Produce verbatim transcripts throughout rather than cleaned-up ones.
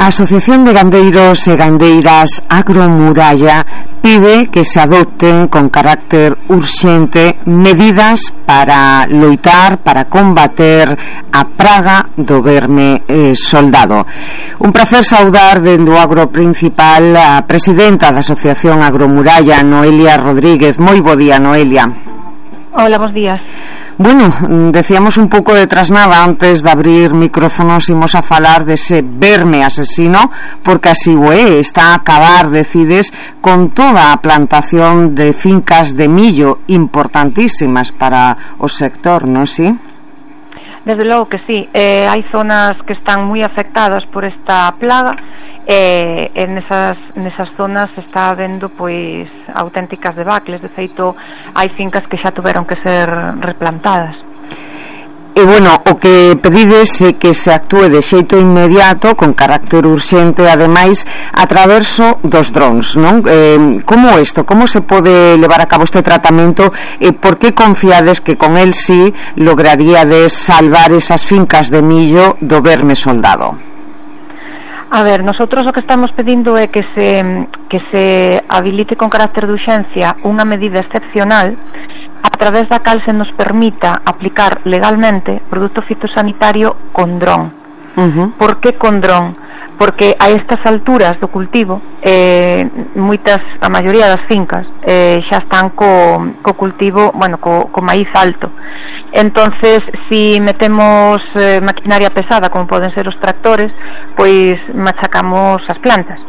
A Asociación de Gandeiros e Gandeiras Agromuralla pide que se adopten con carácter urxente medidas para loitar, para combater a praga do verme eh, soldado. Un prazer saudar dende o agro principal a presidenta da Asociación Agromuralla, Noelia Rodríguez. Moi bo día, Noelia. Hola, bons días. Bueno, decíamos un pouco de trasnada antes de abrir micrófonos, imos a falar dese verme asesino, porque así o é, está a acabar, decides, con toda a plantación de fincas de millo importantísimas para o sector, non si? Desde logo que sí, eh, hai zonas que están moi afectadas por esta plaga. E, e nesas, nesas zonas se está vendo pois auténticas debacles. De feito, hai fincas que xa tuveron que ser replantadas. E bueno, o que pedides é que se actúe de xeito inmediato, con carácter urxente, ademais a traverso dos drons, non? Eh, como isto, como se pode levar a cabo este tratamento e por que confiades que con el sí lograríades salvar esas fincas de millo do verme soldado? A ver, nosotros o que estamos pedindo é que se que se habilite con carácter de urxencia unha medida excepcional a través da cal se nos permita aplicar legalmente produto fitosanitario con dron. Uh-huh. Por que con dron? Porque a estas alturas do cultivo eh, moitas, a maioría das fincas eh, xa están co, co cultivo, bueno, co, co maíz alto. Entonces, si metemos eh, maquinaria pesada, como poden ser os tractores, pois machacamos as plantas.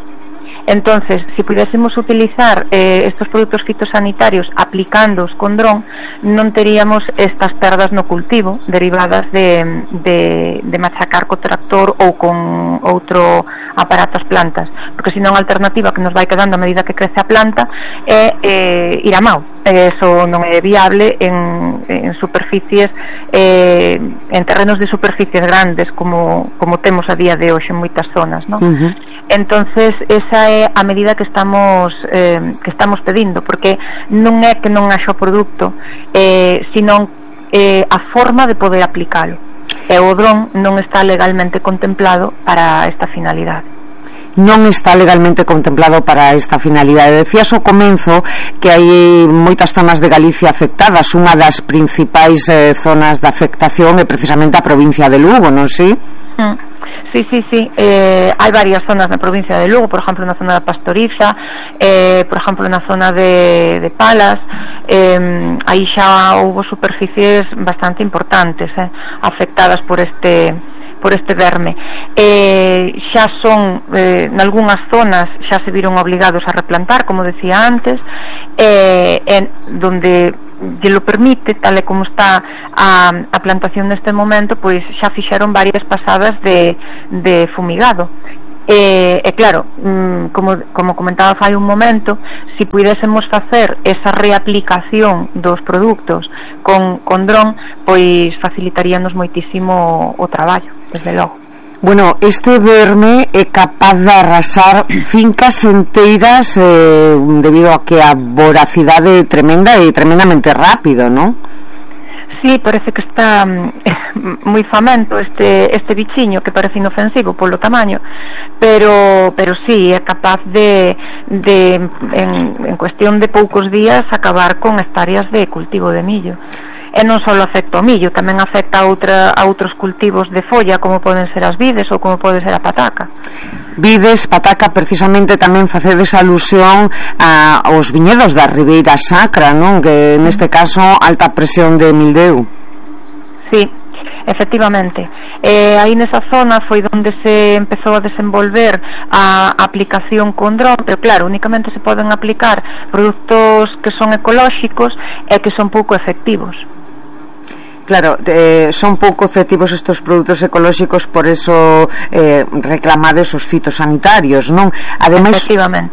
Entonces, si pudiésemos utilizar eh, estos produtos fitosanitarios aplicándoos con dron, non teríamos estas perdas no cultivo derivadas de, de, de machacar co tractor ou con outro aparato as plantas, porque senón a alternativa que nos vai quedando a medida que crece a planta é eh, ir a mau. Eso non é viable en, en superficies eh, en terrenos de superficies grandes como, como temos a día de hoxe en moitas zonas, non? Uh-huh. Entonces, esa é a medida que estamos eh, que estamos pedindo, porque non é que non haxa o produto, eh, sino eh, a forma de poder aplicalo. E o dron non está legalmente contemplado para esta finalidade. Non está legalmente contemplado para esta finalidade. Decías ao comenzo que hai moitas zonas de Galicia afectadas. Unha das principais eh, zonas de afectación é precisamente a provincia de Lugo, non si? Mm. Sí, sí, sí, eh, hai varias zonas na provincia de Lugo, por exemplo na zona da Pastoriza, eh, por exemplo na zona de, de Palas, eh, aí xa houve superficies bastante importantes eh, afectadas por este por este verme. Eh, xa son, eh, nalgúnas zonas xa se viron obligados a replantar, como decía antes, eh, en donde lle lo permite, tal e como está a, a plantación neste momento, pois xa fixeron varias pasadas de, de fumigado. E, e claro, como, como comentaba fai un momento, si puidésemos facer esa reaplicación dos produtos con, con dron, pois facilitaríanos moitísimo o traballo, desde logo. Bueno, este verme é capaz de arrasar fincas enteiras eh, debido a que a voracidade é tremenda e tremendamente rápido, non? Sí, parece que está eh, moi famento este este bichiño que parece inofensivo polo tamaño, pero pero sí é capaz de de en, en cuestión de poucos días acabar con hectáreas de cultivo de millo. E non só afecta o millo, tamén afecta a, outra, a outros cultivos de folla, como poden ser as vides ou como pode ser a pataca. Vides, pataca, precisamente tamén facedes alusión a, aos viñedos da Ribeira Sacra, non? Que neste caso alta presión de mildeu. Sí, efectivamente. Eh, aí nesa zona foi onde se empezou a desenvolver a aplicación con dron, pero claro, únicamente se poden aplicar produtos que son ecolóxicos e que son pouco efectivos. Claro, eh, son pouco efectivos estes produtos ecolóxicos, por eso eh, reclamades os fitosanitarios, non? Ademais,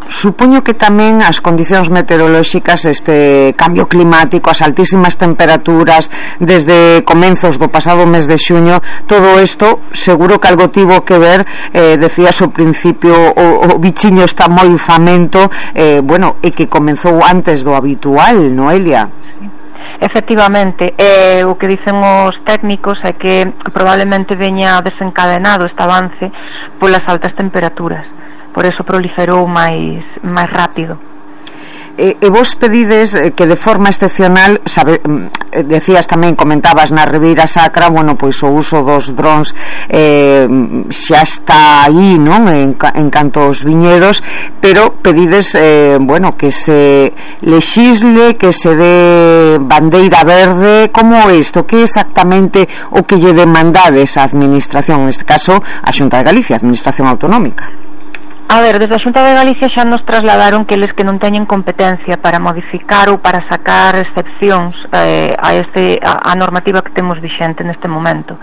supoño que tamén as condicións meteorolóxicas, este cambio climático, as altísimas temperaturas desde comenzos do pasado mes de xuño, todo isto seguro que algo tivo que ver, eh, decías ao principio, o, o bichiño está moi famento, eh, bueno, e que comenzou antes do habitual, Noelia? Efectivamente, eh, o que dicen os técnicos é que probablemente veña desencadenado este avance polas altas temperaturas, por eso proliferou máis máis rápido. E, e vos pedides que de forma excepcional, sabe, decías tamén, comentabas na Ribeira Sacra, bueno, pois o uso dos drons eh, xa está aí, non, en, en canto aos viñedos, pero pedides, eh, bueno, que se lexisle, que se dé bandeira verde. Como é isto? Que exactamente o que lle demandades a administración, neste caso a Xunta de Galicia, a administración autonómica? A ver, desde a Xunta de Galicia xa nos trasladaron que eles que non teñen competencia para modificar ou para sacar excepcións eh, a, este, a, a normativa que temos vixente neste momento.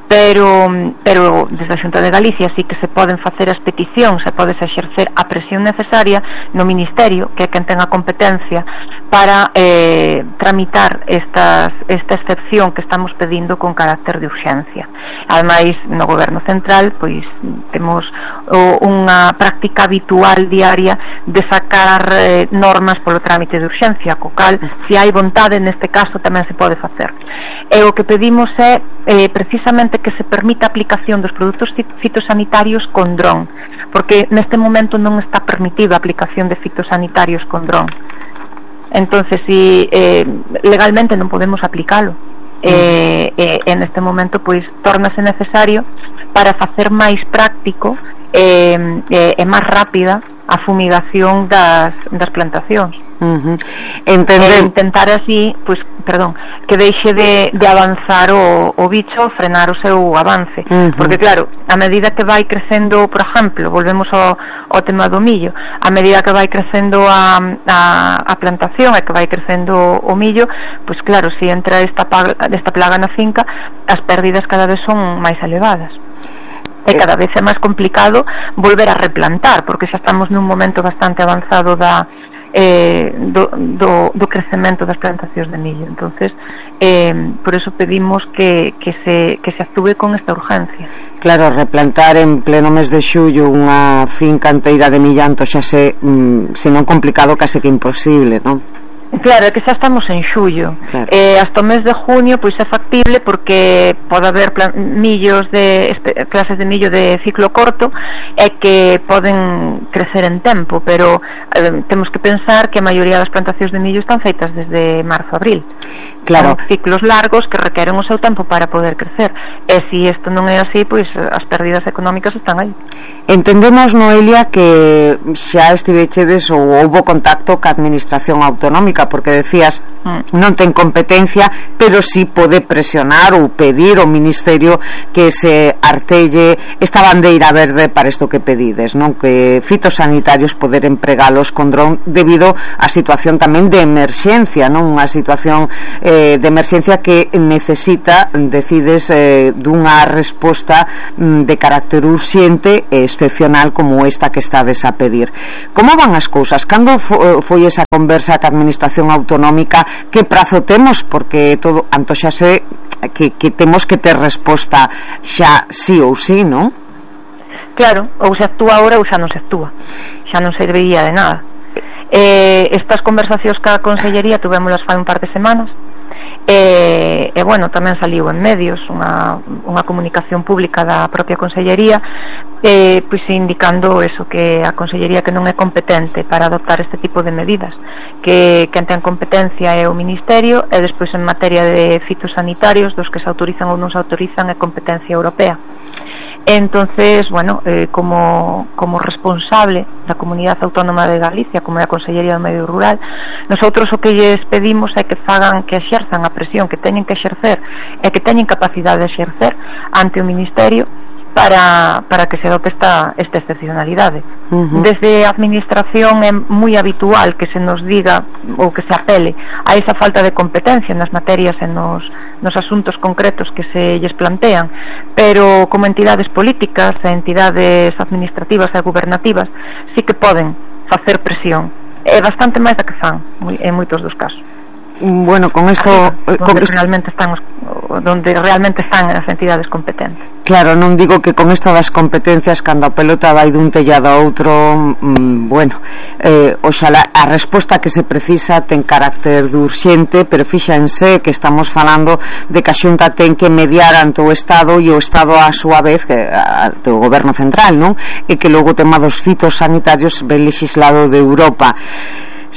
Pero, pero desde a Xunta de Galicia sí que se poden facer as peticións, se pode exercer a presión necesaria no Ministerio, que é quen ten a competencia para eh, tramitar estas, esta excepción que estamos pedindo con carácter de urxencia. Ademais, no Goberno Central pois temos o, unha práctica habitual diaria de sacar eh, normas polo trámite de urxencia, co cal, se hai vontade, neste caso tamén se pode facer. E o que pedimos é eh, precisamente que se permita a aplicación dos produtos fitosanitarios con dron, porque neste momento non está permitido a aplicación de fitosanitarios con dron. Entonces, si eh, legalmente non podemos aplicalo, eh, eh, en este momento pois tórnase necesario para facer máis práctico e eh, eh, máis rápida a fumigación das, das plantacións. Uh-huh. Entender... E intentar así, pois, perdón, que deixe de, de avanzar o, o bicho, frenar o seu avance. Uh-huh. Porque claro, a medida que vai crecendo, por exemplo, volvemos ao, ao tema do millo, a medida que vai crecendo a, a, a plantación e que vai crecendo o millo, pois claro, se entra esta, esta plaga na finca, as pérdidas cada vez son máis elevadas. E cada vez é máis complicado volver a replantar, porque xa estamos nun momento bastante avanzado da eh, do, do, do crecemento das plantacións de millo. Entonces, eh, por eso pedimos que, que, se, que se actúe con esta urgencia. Claro, replantar en pleno mes de xullo unha finca enteira de millanto xa se, mm, se non complicado, case que imposible, non? Claro, é que xa estamos en xullo, claro. eh, hasta o mes de junio pois é factible, porque pode haber plan, millos de clases de millo de ciclo corto e que poden crecer en tempo, pero eh, temos que pensar que a maioría das plantacións de millo están feitas desde marzo a abril. Claro. Son ciclos largos que requeren o seu tempo para poder crecer, e se isto non é así, pois as pérdidas económicas están aí. Entendemos, Noelia, que xa estivechedes ou houbo contacto ca administración autonómica, porque decías mm. non ten competencia, pero si sí pode presionar ou pedir ao Ministerio que se artelle esta bandeira verde para isto que pedides, non, que fitosanitarios poder empregalos con dron debido á situación tamén de emerxencia, non, unha situación eh, de emerxencia que necesita, decides, eh, dunha resposta mm, de carácter urxente e excepcional como esta que estades a pedir. Como van as cousas? Cando fo, foi esa conversa ca administración autonómica? Que prazo temos? Porque todo antoxase que, que temos que ter resposta xa sí ou sí, non? Claro, ou se actúa agora ou xa non se actúa, xa non serviría de nada. Eh, estas conversacións ca Consellería tuvémolas fai un par de semanas, e, e bueno, tamén saliu en medios unha, unha comunicación pública da propia Consellería, eh, pois indicando eso, que a Consellería que non é competente para adoptar este tipo de medidas, que quen ten competencia é o Ministerio, e despois en materia de fitosanitarios, dos que se autorizan ou non se autorizan, é competencia europea. Entonces, bueno, eh, como, como responsable da Comunidade Autónoma de Galicia, como da Consellería do Medio Rural, nosotros o que lles pedimos é que fagan, que exerzan a presión que teñen que exercer e que teñen capacidade de exercer ante o Ministerio para, para que se adopte esta, esta excepcionalidade. Uh-huh. Desde a administración é moi habitual que se nos diga ou que se apele a esa falta de competencia nas materias e nos, nos asuntos concretos que se lles plantean, pero como entidades políticas e entidades administrativas e gubernativas sí que poden facer presión, é bastante máis da que fan en moitos dos casos. bueno, con esto donde con realmente están os, donde realmente están as entidades competentes. Claro, non digo que con isto das competencias cando a pelota vai dun tellado a outro, mmm, bueno, eh, oxalá a resposta que se precisa ten carácter de urxente, pero fíxense que estamos falando de que a Xunta ten que mediar ante o Estado e o Estado a súa vez que ante o Goberno Central, non? E que logo o tema dos fitos sanitarios ve legislado de Europa.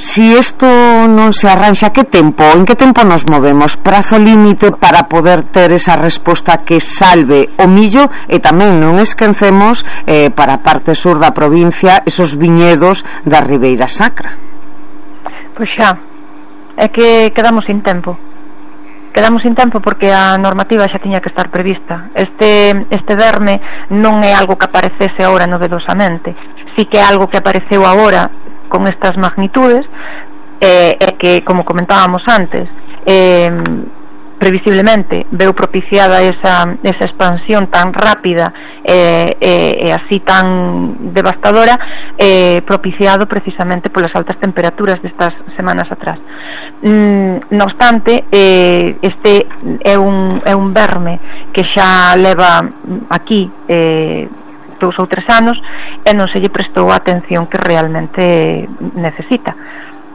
Si isto non se arranxa, que tempo, en que tempo nos movemos? Prazo límite para poder ter esa resposta que salve o millo e tamén non esquecemos eh, para a parte sur da provincia esos viñedos da Ribeira Sacra. Pois xa, é que quedamos sin tempo. Quedamos sin tempo porque a normativa xa tiña que estar prevista. Este, este verme non é algo que aparecese agora novedosamente. Si que é algo que apareceu agora con estas magnitudes, eh, é que, como comentábamos antes, eh, previsiblemente veu propiciada esa, esa expansión tan rápida e eh, eh, así tan devastadora, eh, propiciado precisamente polas altas temperaturas destas semanas atrás. Mm, no obstante, eh, este é un, é un verme que xa leva aquí eh, dous ou tres anos e non se lle prestou a atención que realmente necesita.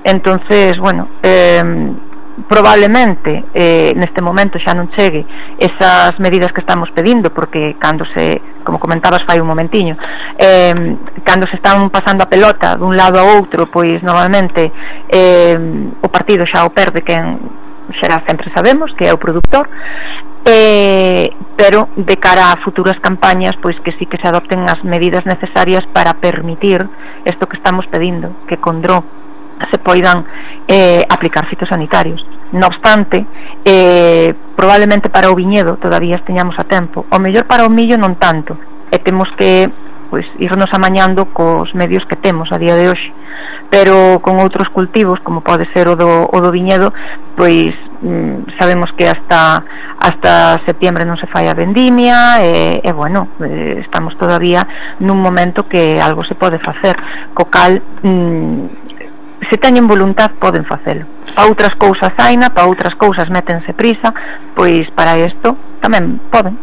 Entonces, bueno, eh, probablemente eh, neste momento xa non chegue esas medidas que estamos pedindo, porque cando se, como comentabas fai un momentiño, eh, cando se están pasando a pelota dun lado a outro, pois normalmente eh, o partido xa o perde quen xa sempre sabemos que é o produtor. Eh, pero de cara a futuras campañas, pois que sí que se adopten as medidas necesarias para permitir isto que estamos pedindo, que con dron se poidan eh, aplicar fitosanitarios. No obstante, eh, probablemente para o viñedo todavía esteñamos a tempo. O mellor para o millo non tanto, e temos que pois irnos amañando cos medios que temos a día de hoxe. Pero con outros cultivos, como pode ser o do, o do viñedo, pois mm, sabemos que hasta hasta septiembre non se fai a vendimia e, e bueno, eh, estamos todavía nun momento que algo se pode facer, co cal mm, se teñen voluntad poden facelo. Pa outras cousas haina, pa outras cousas métense prisa, pois para isto tamén poden.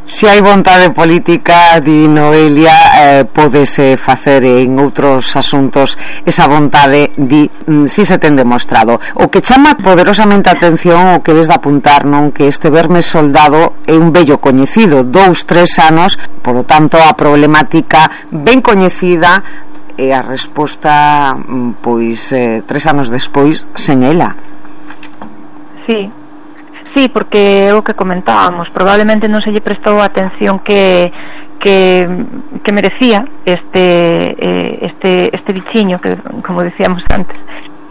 Se hai vontade política, di Noelia, eh, podese facer en outros asuntos esa vontade, di, mm, si se ten demostrado. O que chama poderosamente a atención, o que ves de apuntar, non, que este verme soldado é un vello coñecido, dous, tres anos, polo tanto a problemática ben coñecida e a resposta, pois, eh, tres anos despois, sen ela. Sí. Sí, porque é o que comentábamos, probablemente non se lle prestou a atención que que, que merecía este este este bichiño que, como decíamos antes,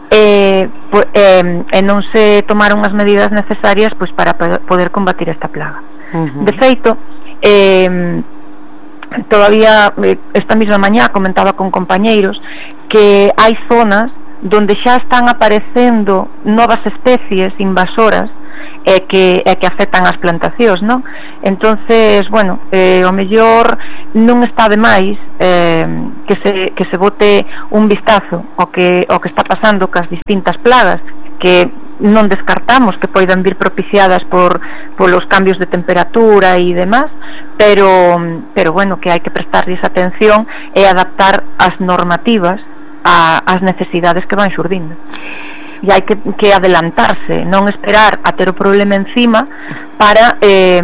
e, pues, eh, e non se tomaron as medidas necesarias pois para poder combatir esta plaga. Uh-huh. De feito, eh, todavía esta mesma mañá comentaba con compañeiros que hai zonas donde xa están aparecendo novas especies invasoras e que, e que afectan as plantacións, non? Entonces, bueno, eh, o mellor non está de máis eh, que, se, que se bote un vistazo ao que, ao que está pasando cas distintas plagas que non descartamos que poidan vir propiciadas por polos cambios de temperatura e demás, pero, pero bueno, que hai que prestarlles atención e adaptar as normativas a, as necesidades que van xurdindo. E hai que, que adelantarse, non esperar a ter o problema encima para eh,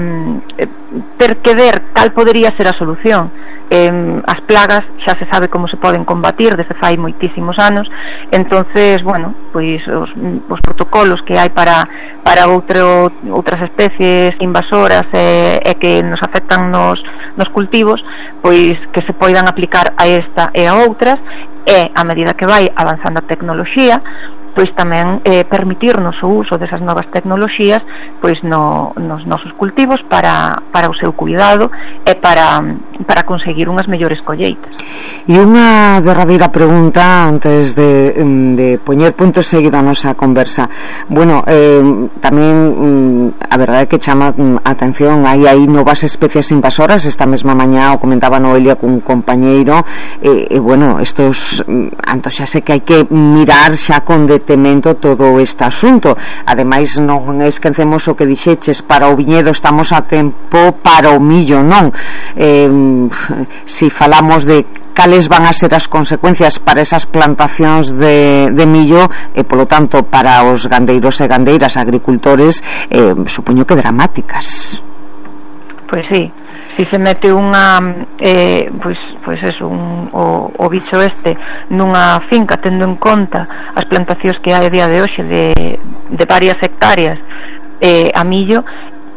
ter que ver cal podería ser a solución. Eh, as plagas xa se sabe como se poden combatir desde fai moitísimos anos, entonces, bueno, pois os, os protocolos que hai para para outro, outras especies invasoras e, e que nos afectan nos, nos cultivos, pois que se poidan aplicar a esta e a outras, e a medida que vai avanzando a tecnoloxía, pois tamén eh, permitirnos o uso desas novas tecnoloxías pois no, nos nosos cultivos para, para o seu cuidado e para, para conseguir unhas mellores colleitas. E unha derradeira pregunta antes de, de poñer punto seguido a nosa conversa. Bueno, eh, tamén a verdade é que chama a atención, hai aí novas especies invasoras. Esta mesma mañá o comentaba Noelia cun compañeiro e, e bueno, estos anto xa sei que hai que mirar xa con de eh, temendo todo este asunto. Ademais, non esquecemos o que dixeches, para o viñedo estamos a tempo, para o millo non. Eh, si falamos de cales van a ser as consecuencias para esas plantacións de, de millo e polo tanto para os gandeiros e gandeiras, agricultores, eh, supoño que dramáticas. Pois sí, si se mete unha eh, pois, pois eso, un, o, o bicho este nunha finca, tendo en conta as plantacións que hai a día de hoxe de, de varias hectáreas eh, a millo,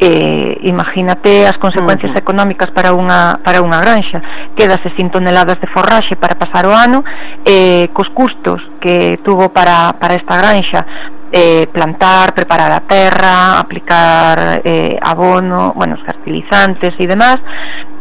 eh, imagínate as consecuencias uh-huh. económicas para unha para unha granxa. Quédase sin toneladas de forraxe para pasar o ano, eh, cos custos que tuvo para, para esta granxa, eh, plantar, preparar a terra, aplicar eh, abono, bueno, os fertilizantes e demás,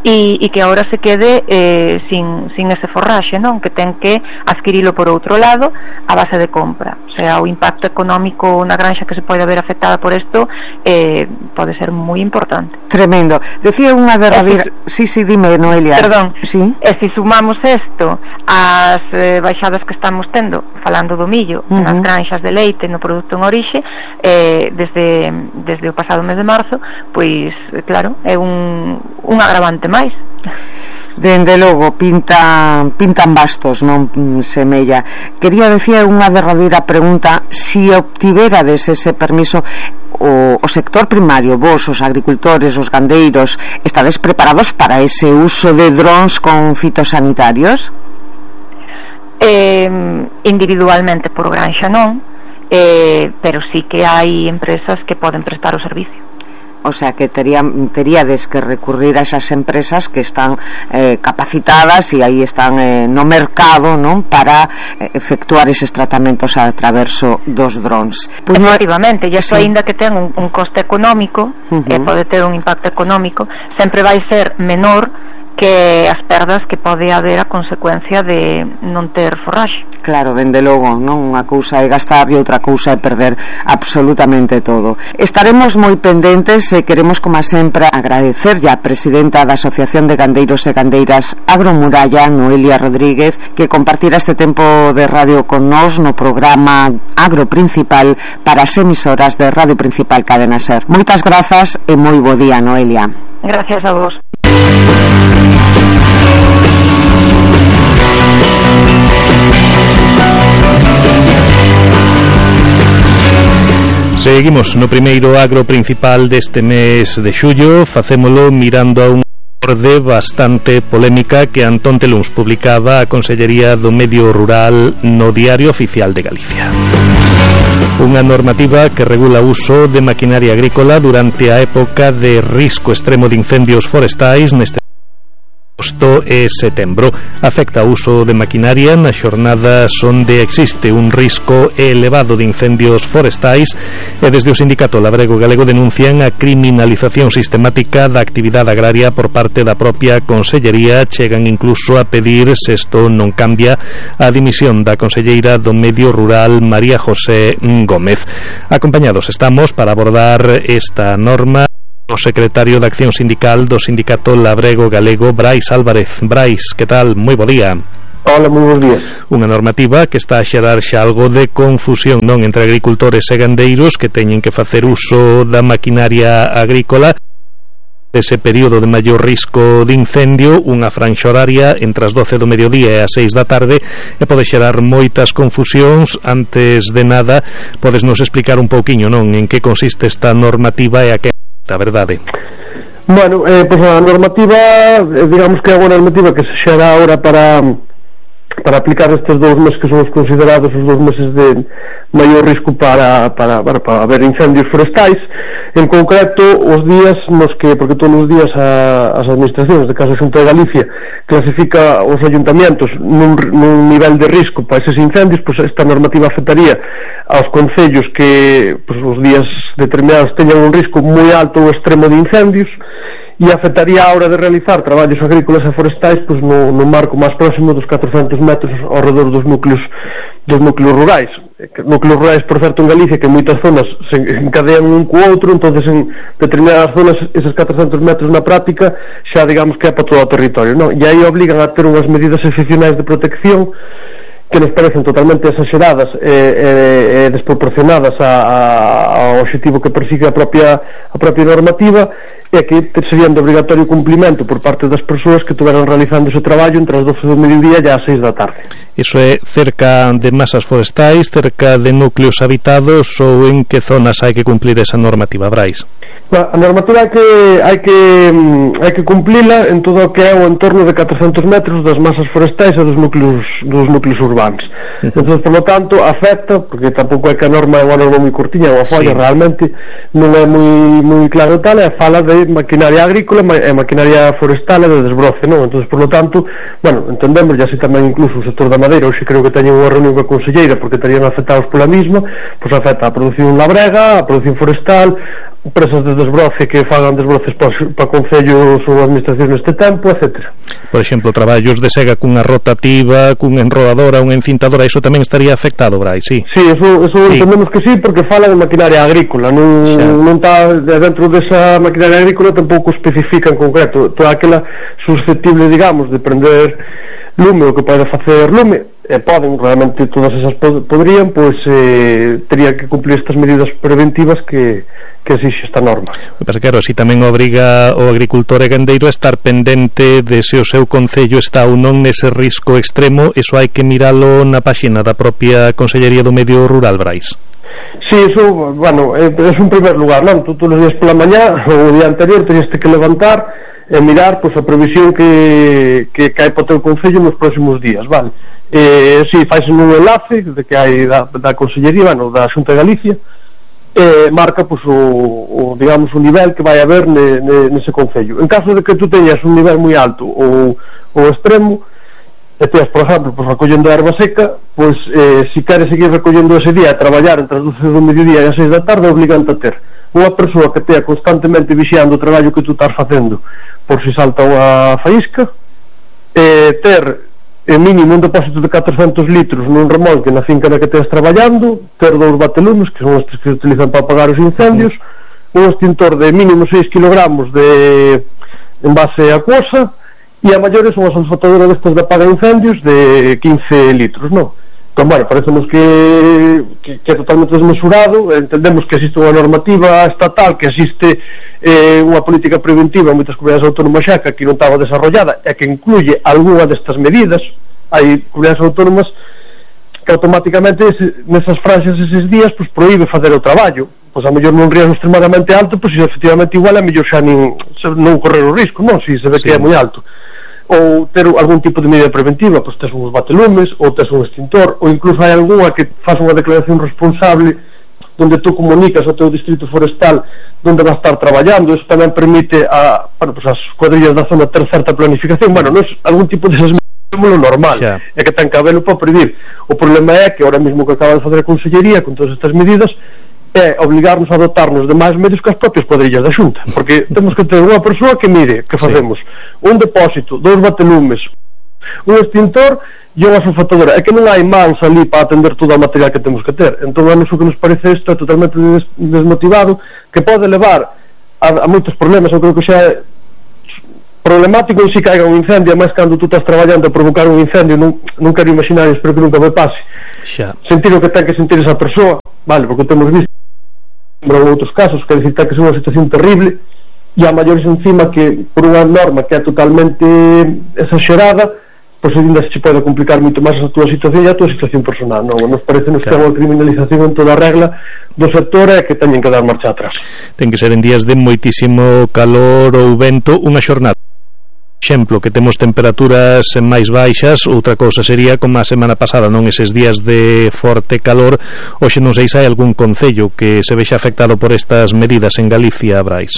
e, e que agora se quede eh, sin, sin ese forraxe, non? Que ten que adquirilo por outro lado a base de compra. O sea, o impacto económico na granxa que se pode ver afectada por isto eh, pode ser moi importante. Tremendo. Decía unha derradeira... Si, si, sí, sí, dime, Noelia. Perdón. Sí. E se sumamos isto ás eh, baixadas que estamos tendo, falando do millo, uh-huh. nas granxas de leite, no produto en orixe, eh, desde, desde o pasado mes de marzo, pois, claro, é un, un agravante máis. Dende logo, pinta, pintan bastos, non semella. Quería decir unha derradeira pregunta: si obtiverades ese permiso, o, o sector primario, vos, os agricultores, os gandeiros, estades preparados para ese uso de drons con fitosanitarios? Eh, individualmente por granxa non, eh, pero sí que hai empresas que poden prestar o servicio. O sea que tería, teríades que recurrir a esas empresas que están eh, capacitadas e aí están eh, no mercado, non, para eh, efectuar eses tratamentos a traverso dos drones. Pues efectivamente, e iso sí. Aínda que ten un, un coste económico, uh-huh. eh, pode ter un impacto económico, sempre vai ser menor que as perdas que pode haber a consecuencia de non ter forraxe. Claro, dende logo, non? Unha cousa é gastar e outra cousa é perder absolutamente todo. Estaremos moi pendentes e queremos, como sempre, agradecerlle á presidenta da Asociación de Gandeiros e Gandeiras Agromuralla, Noelia Rodríguez, que compartira este tempo de radio con nós no programa Agro Principal para as emisoras de Radio Principal Cadena Ser. Moitas grazas e moi bo día, Noelia. Gracias a vos. Seguimos no primeiro agro principal deste mes de xullo, facémolo mirando a un orde bastante polémica que Antón Teluns publicaba a Consellería do Medio Rural no Diario Oficial de Galicia. Unha normativa que regula o uso de maquinaria agrícola durante a época de risco extremo de incendios forestais neste agosto e setembro. Afecta o uso de maquinaria nas xornadas onde existe un risco elevado de incendios forestais e desde o sindicato labrego galego denuncian a criminalización sistemática da actividade agraria por parte da propia Consellería. Chegan incluso a pedir, se isto non cambia, a dimisión da conselleira do Medio Rural, María José Gómez. Acompañados estamos para abordar esta norma o secretario de Acción Sindical do Sindicato Labrego Galego, Brais Álvarez. Brais, que tal? Moi bo día. Hola, moi bons días. Unha normativa que está a xerar xa algo de confusión, non, entre agricultores e gandeiros que teñen que facer uso da maquinaria agrícola ese período de maior risco de incendio, unha franxa horaria entre as doce do mediodía e as seis da tarde, e pode xerar moitas confusións. Antes de nada, podes nos explicar un pouquiño, non, en que consiste esta normativa e a que a verdade? Bueno, eh, pues a normativa, eh, digamos que é unha normativa que se xera ahora para para aplicar estes dous meses que son os considerados os dous meses de maior risco para, para, para, para haber incendios forestais. En concreto, os días nos que, porque todos os días a, as administracións, de caso Xunta de Galicia, clasifica os ayuntamientos nun, nun nivel de risco para eses incendios, pois esta normativa afectaría aos concellos que pois, os días determinados teñan un risco moi alto ou extremo de incendios, e afectaría a hora de realizar traballos agrícolas e forestais pois, no, no marco máis próximo dos catrocentos metros ao redor dos núcleos dos núcleos rurais. Núcleos rurais, por certo, en Galicia, que en moitas zonas se encadean un co outro, entonces en determinadas zonas eses catrocentos metros na práctica xa digamos que é para todo o territorio, non? E aí obligan a ter unhas medidas excepcionais de protección que nos parecen totalmente exageradas e, e, e desproporcionadas a, a, ao objetivo que persigue a propia, a propia normativa, e que serían de obrigatorio cumplimento por parte das persoas que estuveran realizando ese traballo entre as doce do mediodía e as seis da tarde. Iso é cerca de masas forestais, cerca de núcleos habitados, ou en que zonas hai que cumplir esa normativa, Brais? A normativa hai que hai que hai que cumplila en todo o que é o entorno de catrocentos metros das masas forestais e dos núcleos dos núcleos urbanos. Entón, por lo tanto, afecta, porque tampouco é que a norma é unha norma moi curtiña, unha folla, sí. Realmente non é moi moi claro tal, é fala de maquinaria agrícola e maquinaria forestal e de desbroce, non? Entón, por lo tanto, bueno, entendemos, e así tamén incluso o sector da madeira, hoxe creo que teñen unha reunión coa conselleira porque estarían afectados pola misma, pois afecta a produción labrega, a produción forestal, empresas de desbroce que fagan desbroces para, para concellos ou administracións neste tempo, etcétera. Por exemplo, traballos de sega cunha rotativa, cunha enrodadora, unha encintadora, iso tamén estaría afectado, Brais, sí? Sí, eso, eso sí. Entendemos que sí, porque fala de maquinaria agrícola, non, non está dentro desa maquinaria agrícola, tampouco especifica en concreto toda aquela susceptible, digamos, de prender lume, o que pode facer lume, e poden, realmente todas esas pod podrían, pois eh, terían que cumplir estas medidas preventivas que, que exixe esta norma. O que pasa, claro, así tamén obriga o agricultor e gandeiro a estar pendente de se o seu concello está ou non nese risco extremo. Eso hai que miralo na páxina da propia Consellería do Medio Rural, Brais. Sí, eso, bueno, é, é un primer lugar, non? Tú todos os días pola mañá ou o día anterior tenías que levantar e mirar, pois, a previsión que, que cae para o teu concello nos próximos días, vale? Eh, si, faise un enlace de que hai da, da Consellería, bueno, da Xunta de Galicia, eh, marca, pois, o, o, digamos, o nivel que vai haber ne, ne, nese concello. En caso de que tú teñas un nivel moi alto ou, ou extremo, e teas, por exemplo, pois, recollendo erva seca, pois, eh, si queres seguir recollendo ese día e traballar entre as doce do mediodía e as seis da tarde, obligante a ter unha persoa que tea constantemente vixiando o traballo que tú estás facendo por si salta unha faísca, eh, ter en mínimo un depósito de catrocentos litros nun remolque na finca na que estés traballando, ter dous batelumes, que son estes que se utilizan para apagar os incendios, un extintor de mínimo seis kilogramos de envase acuosa, e a maiores unha sulfatadora destas de apaga incendios de quince litros, non? Entón, bueno, parecemos que, que, que é totalmente desmesurado. Entendemos que existe unha normativa estatal, que existe eh, unha política preventiva en moitas comunidades autónomas xa que aquí non estaba desarrollada e que incluye algunha destas medidas. Hai comunidades autónomas que automáticamente ese, nesas franxas eses días pues, proíbe facer o traballo, pois a mellor nun riesgo extremadamente alto, pois se efectivamente igual a mellor xa nin, non correr o risco, non, se se ve sí. Que é moi alto, ou ter algún tipo de medida preventiva, pois tes uns batelumes, ou tes un extintor, ou incluso hai algunha que faz unha declaración responsable donde tú comunicas ao teu distrito forestal donde vas estar traballando. Eso tamén permite a, bueno, pues as cuadrillas da zona ter certa planificación. Bueno, non é algún tipo de lo normal, yeah. É que ten que habelo para predir. O problema é que ahora mesmo que acaba de fazer a Consellería con todas estas medidas é obligarnos a dotarnos de máis medios que as propias cuadrillas da Xunta, porque temos que ter unha persoa que mire que facemos sí. Un depósito, dous batelumes, un extintor e unha sulfatadora. É que non hai mans ali para atender todo o material que temos que ter. Entón, a nos o que nos parece isto é totalmente des desmotivado, que pode levar a, a moitos problemas. Eu creo que xa é problemático en si caiga un incendio, máis cando tú estás traballando a provocar un incendio. Non, non quero imaginar, espero que nunca me pase xa. Sentir o que ten que sentir esa persoa, vale, porque temos visto en outros casos que decir que é unha situación terrible, e a maiores encima que por unha norma que é totalmente exagerada, pois ainda se pode complicar moito máis a túa situación e a túa situación personal. Non, nos parece nos claro. Que é unha criminalización en toda a regla do sector e que teñen que dar marcha atrás. Ten que ser en días de moitísimo calor ou vento unha xornada. Exemplo, que temos temperaturas máis baixas, outra cousa sería como a semana pasada, non eses días de forte calor. Hoxe non sei se hai algún concello que se vexa afectado por estas medidas en Galicia, Brais.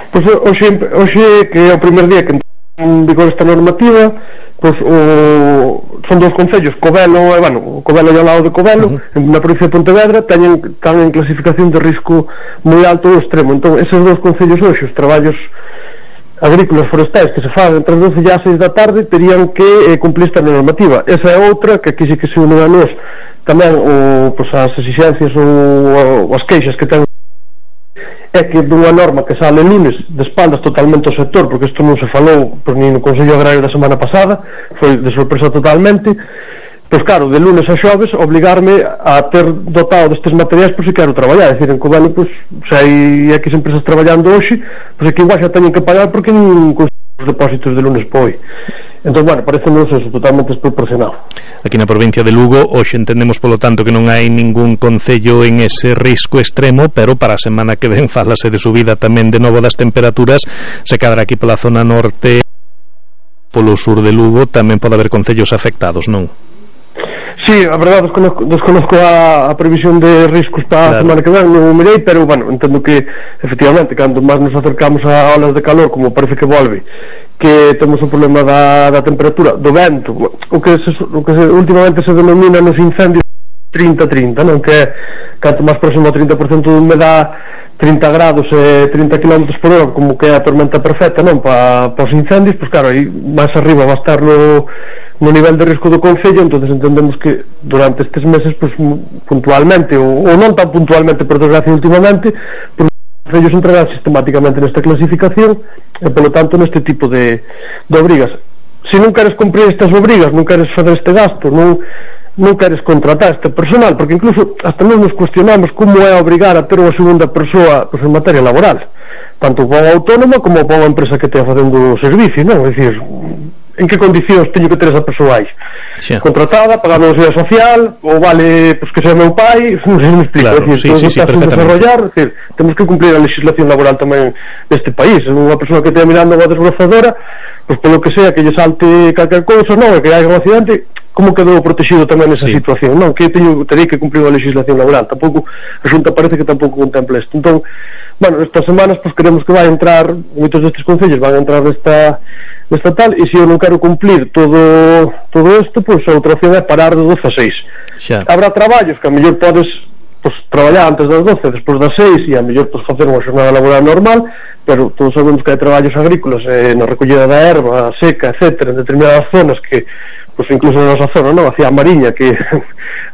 Pois hoxe, hoxe que é o primer día que en vigor esta normativa, pois o, son dos concellos, Covelo e, bueno, Covelo e ao lado de Covelo, uh -huh. na provincia de Pontevedra, teñen, están en clasificación de risco moi alto ou extremo. Entón, eses dos concellos hoxe, os traballos agrícolas forestais que se fan entre as doce e as seis da tarde, terían que eh, cumplir esta normativa. Esa é outra que aquí sí que se unen a nós tamén o, pois, as exigencias ou, ou as queixas que ten, é que dunha norma que sale lunes de espaldas totalmente ao sector, porque isto non se falou por nin no Consello Agrario da semana pasada, foi de sorpresa totalmente. pois claro, de lunes a xoves obligarme a ter dotado destes materiais por se quero traballar, é dicir, en Covelo pois, se hai X empresas traballando hoxe, pois aquí igual xa teñen que pagar porque non os depósitos de lunes para hoy. Entón, bueno, parece-nos eso totalmente desproporcionado. Aquí na provincia de Lugo hoxe entendemos polo tanto que non hai ningún concello en ese risco extremo, pero para a semana que ven fálase de subida tamén de novo das temperaturas. Se cadra aquí pola zona norte, polo sur de Lugo tamén pode haber concellos afectados, non? Sí, a verdade desconozco, desconozco a, a previsión de riscos para claro. a semana que ven, non o mirei, pero bueno, entendo que efectivamente, cando máis nos acercamos a olas de calor, como parece que volve, que temos o problema da, da temperatura, do vento, o que, se, o que se, últimamente se denomina nos incendios trinta trinta, non? Que é canto máis próximo ao trinta por cento de humedade, trinta grados e trinta kilómetros por hora, como que é a tormenta perfecta, non? Para pa os incendios, pois claro, aí máis arriba va a estar no, no nivel de risco do concello, entonces entendemos que durante estes meses, pois puntualmente, ou, ou non tan puntualmente, por desgracia últimamente, pois os concellos entrarán sistemáticamente nesta clasificación e, polo tanto, neste tipo de, de obrigas. Se non queres cumprir estas obrigas, non queres fazer este gasto, non non queres contratar este personal, porque incluso hasta mesmo nos cuestionamos como é obrigar a ter unha segunda persoa pois, en materia laboral, tanto para unha autónoma como para unha empresa que estea facendo o servicio, non? É dicir, en que condicións teño que ter esa persoa aí? Sí. Contratada, pagando a seguridade social, ou vale pois, que sea meu pai, non sei se me explico, claro, é dicir, sí, sí, sí, desarrollar, é dicir, temos que cumplir a legislación laboral tamén neste país. Unha persoa que estea mirando unha desbrozadora, pois polo que sea que lle salte calquer cousa, non, que hai un accidente, como quedou protegido tamén nesa sí. situación, non? Que teño, terei que cumprir a legislación laboral. Tampouco, a Xunta parece que tampouco contempla isto. Entón, bueno, estas semanas pues queremos que vai entrar, moitos destes concellos van a entrar nesta, nesta tal, e se eu non quero cumplir todo todo isto, pois pues, a outra opción é parar de doce a seis. Xa. Habrá traballos que a mellor podes pues, traballar antes das doce, despois das seis, e a mellor pues, facer unha xornada laboral normal, pero todos sabemos que hai traballos agrícolas eh, na recollida da erva, seca, etcétera, en determinadas zonas que pois incluso na nosa zona, non? Hacia a Mariña, que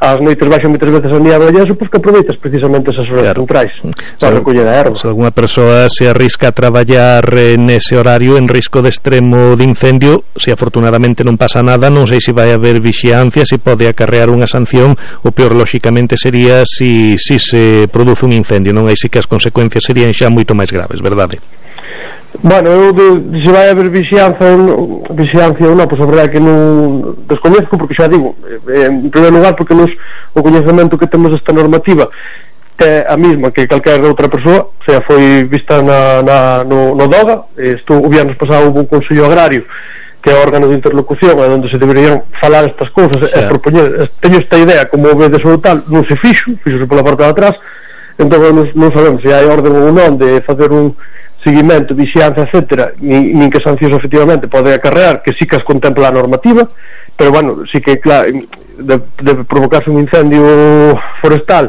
as noites baixan moitas veces a niebla e eso, pois que aproveitas precisamente esas horas claro. centrais para recoller a erva. Se alguna persoa se arrisca a traballar eh, nese horario en risco de extremo de incendio, se afortunadamente non pasa nada, non sei se vai haber vixiancia, se pode acarrear unha sanción, o peor lóxicamente sería si, si se produce un incendio, non? Aí sí que as consecuencias serían xa moito máis graves, verdade? Bueno, eu de, se vai haber vixianza ou vixiancia ou non, pois a verdade que non desconozco, porque xa digo, eh, en primeiro lugar porque nos, o coñecemento que temos desta normativa é a mesma que calquera outra persoa, o sea, foi vista na, na, no, no DOGA. Isto o viernes pasado houve un Consello Agrario que é órgano de interlocución onde se deberían falar estas cousas e propoñer, teño esta idea como vedes ou tal, non se fixo, fixose pola parte de atrás, entón non, non sabemos se hai orden ou non de facer un seguimento, vixianza, etcétera, nin, nin que sancións efectivamente pode acarrear, que sí que as contempla a normativa, pero bueno, sí que claro, debe de provocarse un incendio forestal,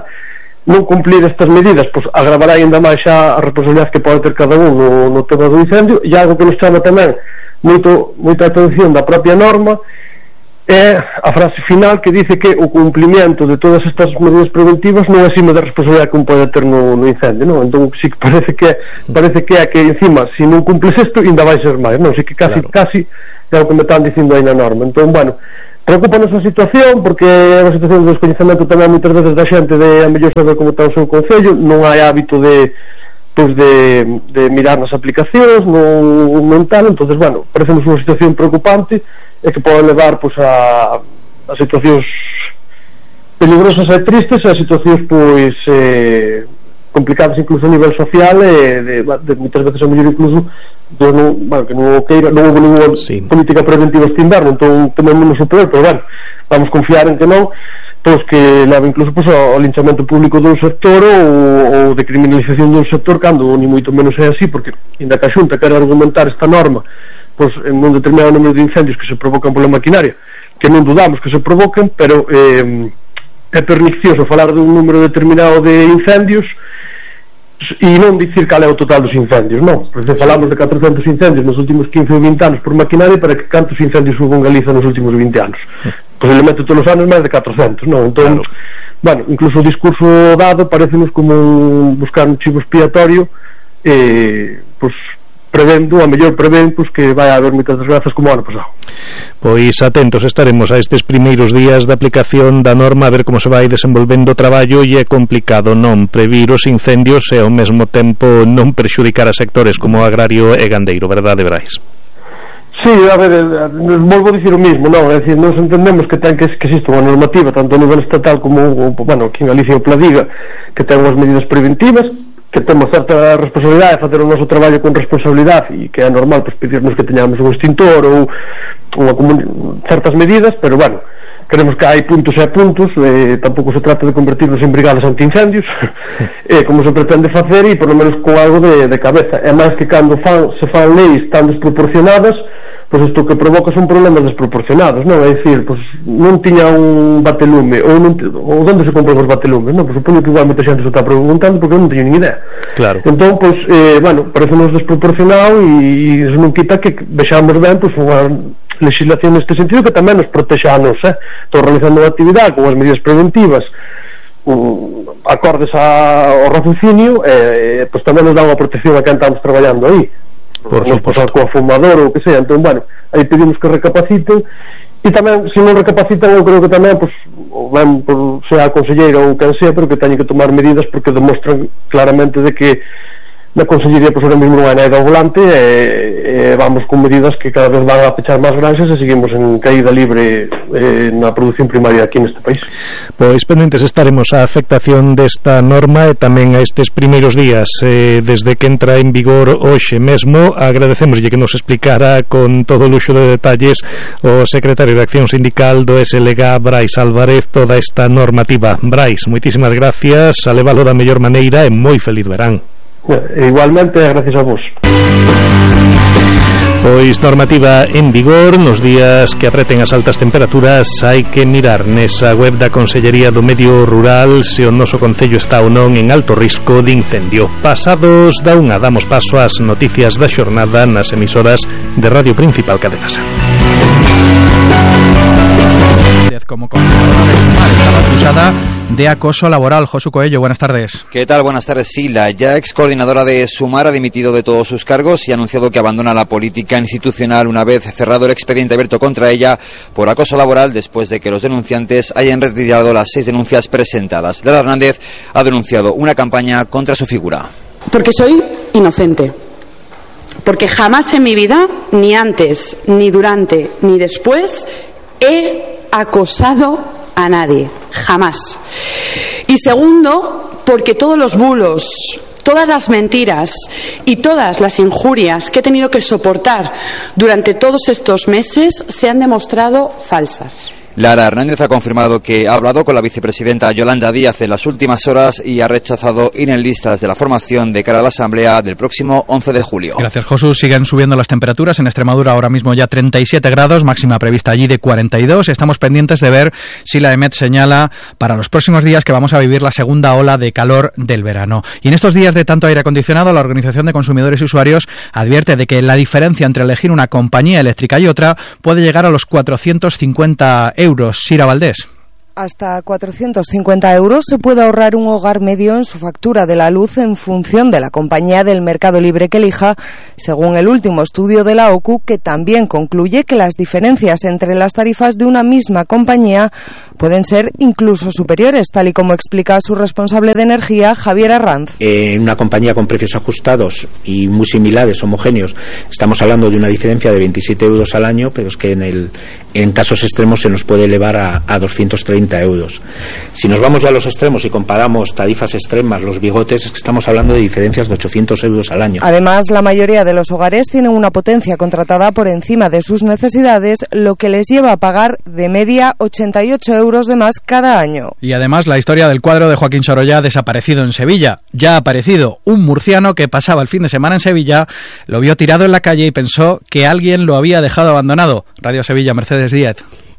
non cumplir estas medidas, pois pues, agravará ainda máis xa a responsabilidade que pode ter cada un no, no tema do incendio. E algo que nos chama tamén moito, moita atención da propia norma é a frase final que dice que o cumplimento de todas estas medidas preventivas non é exime da responsabilidade que un pode ter no, no incendio, non? Entón si que parece que parece que é que encima se non cumples isto ainda vai ser máis, non? Si que casi, claro. casi é o que me están dicindo aí na norma. Entón, bueno, preocupa esa situación porque é unha situación de descoñecemento tamén moitas veces da xente de a mellor saber como está o seu concello, non hai hábito de pois de, de mirar nas aplicacións, non, non tal, entonces, bueno, parecemos unha situación preocupante e que pode levar pois a, a situacións peligrosas e tristes, a situacións pois eh, complicadas incluso a nivel social e de, de moitas veces a mellor incluso de non, bueno, que non queira, non houve ninguna sí. política preventiva este inverno, entón tememos o peor, pero bueno, vamos confiar en que non, pois que leva incluso pois, ao linchamento público dun sector ou, ou de criminalización dun sector, cando ni moito menos é así, porque ainda que a Xunta quere argumentar esta norma pois en un determinado número de incendios que se provocan pola maquinaria, que non dudamos que se provoquen, pero eh, é pernicioso falar dun número determinado de incendios e non dicir cal é o total dos incendios, non? Porque falamos de catrocentos incendios nos últimos quince ou vinte anos por maquinaria, para que cantos incendios hubo en Galiza nos últimos vinte anos? Posiblemente todos os anos máis de catrocentos, non? Entón, claro. bueno, incluso o discurso dado parecenos como un, buscar un chivo expiatorio eh, pois prevendo, a mellor prevén, pois que vai haber moitas desgrazas como o ano pasado. Pois atentos estaremos a estes primeiros días da aplicación da norma, a ver como se vai desenvolvendo o traballo, e é complicado non previr os incendios e ao mesmo tempo non perxudicar a sectores como o agrario e gandeiro, verdade, Brais? Sí, a ver, volvo a dicir o mismo, non? É dicir, nos entendemos que ten que, que existe unha normativa tanto a nivel estatal como, bueno, aquí en Galicia o Pladiga, que ten unhas medidas preventivas, que temos certa responsabilidade de facer o noso traballo con responsabilidade, e que é normal pois, pedirnos que teñamos un extintor ou unha certas medidas, pero bueno, queremos que hai puntos e puntos, eh, tampouco se trata de convertirnos en brigadas antiincendios, eh, como se pretende facer, e por lo menos con algo de, de cabeza. É máis que cando fan, se fan leis tan desproporcionadas, pois isto que provoca son problemas desproporcionados, non? É dicir, pois non tiña un batelume, ou, non, ou onde se compran os batelumes, non? Pois supoño que igual moita xente se está preguntando porque non teño nin idea. Claro. Entón, pois, eh, bueno, parece-nos desproporcionado, e iso non quita que vexamos ben, pois, unha legislación neste sentido que tamén nos protexa a nos, eh? Estou realizando unha actividade con as medidas preventivas um, acordes a, ao raciocinio, e eh, pois tamén nos dá unha protección a quen estamos traballando aí. Por suposto, coa fumador ou o que sea. Entón, bueno, aí pedimos que recapaciten, e tamén, se non recapacitan, eu creo que tamén, pues, ben, por, sea a conselleira ou quen sea, pero que teñen que tomar medidas porque demostran claramente de que na consellería, pois, ahora mesmo non hai nada ao volante, e, e vamos con medidas que cada vez van a pechar máis granxas e seguimos en caída libre eh, na produción primaria aquí neste país. Pois pendentes estaremos a afectación desta norma e tamén a estes primeiros días eh, desde que entra en vigor hoxe mesmo. Agradecemoslle que nos explicara con todo o luxo de detalles o secretario de Acción Sindical do S L G, Brais Álvarez, toda esta normativa. Brais, moitísimas gracias, a levalo da mellor maneira e moi feliz verán. Igualmente, gracias a vos. Pois normativa en vigor, nos días que apreten as altas temperaturas hai que mirar nesa web da Consellería do Medio Rural se o noso concello está ou non en alto risco de incendio. Pasados da unha, damos paso ás noticias da xornada nas emisoras de Radio Principal Cadena Ser. Como coordinadora de Sumar estaba acusada de acoso laboral. Josu Coello, buenas tardes. ¿Qué tal? Buenas tardes. Sí, la ya ex coordinadora de Sumar ha dimitido de todos sus cargos y ha anunciado que abandona la política institucional una vez cerrado el expediente abierto contra ella por acoso laboral después de que los denunciantes hayan retirado las seis denuncias presentadas. Lara Hernández ha denunciado una campaña contra su figura. Porque soy inocente. Porque jamás en mi vida, ni antes, ni durante, ni después, he acosado a nadie, jamás. Y segundo, porque todos los bulos, todas las mentiras y todas las injurias que he tenido que soportar durante todos estos meses se han demostrado falsas. Lara Hernández ha confirmado que ha hablado con la vicepresidenta Yolanda Díaz en las últimas horas y ha rechazado ir en listas de la formación de cara a la asamblea del próximo once de julio. Gracias, Josu. Siguen subiendo las temperaturas en Extremadura, ahora mismo ya treinta y siete grados, máxima prevista allí de cuarenta y dos. Estamos pendientes de ver si la EMET señala para los próximos días que vamos a vivir la segunda ola de calor del verano. Y en estos días de tanto aire acondicionado, la Organización de Consumidores y Usuarios advierte de que la diferencia entre elegir una compañía eléctrica y otra puede llegar a los cuatrocientos cincuenta euros. Sira Valdés. Hasta cuatrocientos cincuenta euros se puede ahorrar un hogar medio en su factura de la luz en función de la compañía del mercado libre que elija, según el último estudio de la O C U, que también concluye que las diferencias entre las tarifas de una misma compañía pueden ser incluso superiores, tal y como explica su responsable de energía, Javier Arranz. En una compañía con precios ajustados y muy similares, homogéneos, estamos hablando de una diferencia de veintisiete euros al año, pero es que en, el, en casos extremos se nos puede elevar a, a doscientos treinta euros. Si nos vamos ya a los extremos y comparamos tarifas extremas, los bigotes, es que estamos hablando de diferencias de ochocientos euros al año. Además, la mayoría de los hogares tienen una potencia contratada por encima de sus necesidades, lo que les lleva a pagar de media ochenta y ocho euros de más cada año. Y además, la historia del cuadro de Joaquín Sorolla desaparecido en Sevilla. Ya ha aparecido un murciano que pasaba el fin de semana en Sevilla, lo vio tirado en la calle y pensó que alguien lo había dejado abandonado. Radio Sevilla, Mercedes Díaz.